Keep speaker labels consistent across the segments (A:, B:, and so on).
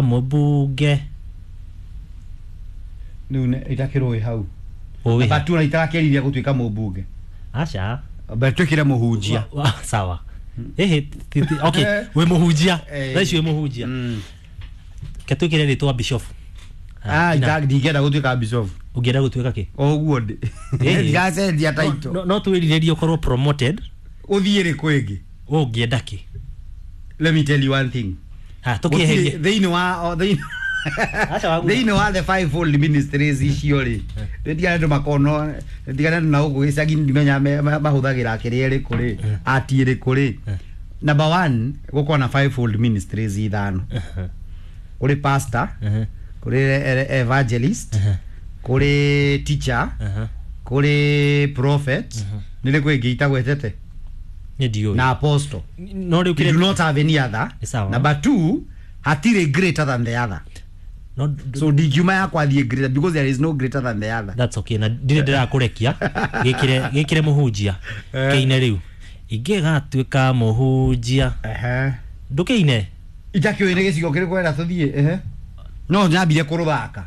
A: Mũmbunge.
B: Rĩu itakĩrũĩ hau.
A: Ũĩ.
B: But ona itarakĩriria gũtuĩka mũmbunge.
A: Aca.
B: But twĩkĩre mũhunjia.
A: Sawa. Ĩhĩ, okay, wĩ mũhunjia.
B: Eh.
A: Thaa ici wĩ mũhunjia. Ke twĩkĩre rĩtwa bishop.
B: Ah, ndingĩenda gũtuĩka bishop.
A: Ũngĩenda gũtuĩka kĩ?
B: O ũguo ndĩ.
A: Ĩhĩ.
B: Ndigacenjia title.
A: No twĩrirĩrie ũkorwo promoted.
B: Ũthiĩ rĩ kwĩngĩ?
A: We ũngĩenda kĩ?
B: Let me tell you one thing.
A: Ha, tũkĩeherie.
B: Gũtirĩ- thĩinĩ wa o, thĩinĩ
A: Aca waguo.
B: thĩinĩ wa the fivefold ministries icio rĩ, nĩndigane andũ makono, nĩndigane andũ na gũkũ gĩcagi, ndimenya mahũthagĩra kĩrĩa ĩrĩkũ rĩ, ati ĩrĩkũ rĩ. Number one, gũkorwo na fivefold ministries ithano. Kũrĩ pastor, kũrĩ evangelist, kũrĩ teacher, kũrĩ prophet, nĩ rĩkũ ĩngĩ itagwetete?
A: Nĩ ndiũĩ.
B: Na apostle.
A: No rĩu
B: We do
A: kĩrĩa
B: not have any other.
A: Nĩ sawa.
B: Number two, hatirĩ greater than the other.
A: No.
B: So ndingiuma yakwa thiĩ greater because there is no greater than the other.
A: That's okay, na ndirĩ ndĩrakũrekia gĩkĩre mũhunjia. Kĩine rĩu ingĩgatuĩka mũhunjia. Ndũkĩine.
B: Itakĩũĩ nĩ gĩcigo kĩrĩkũ wenda tũthiĩ, ehe. No nyambire kũrũthaka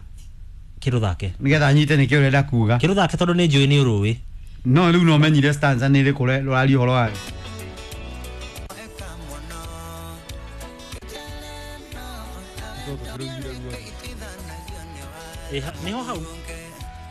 A: kĩrũthake.
B: Nĩgetha nyite nĩkĩo ũrenda kuga.
A: Kĩrũthake tondũ nĩ njũĩ nĩ ũrũĩ.
B: No rĩu no menyire stanza nĩ ĩrĩkũ rũraria ũhoro wayo.
A: Nĩho hau.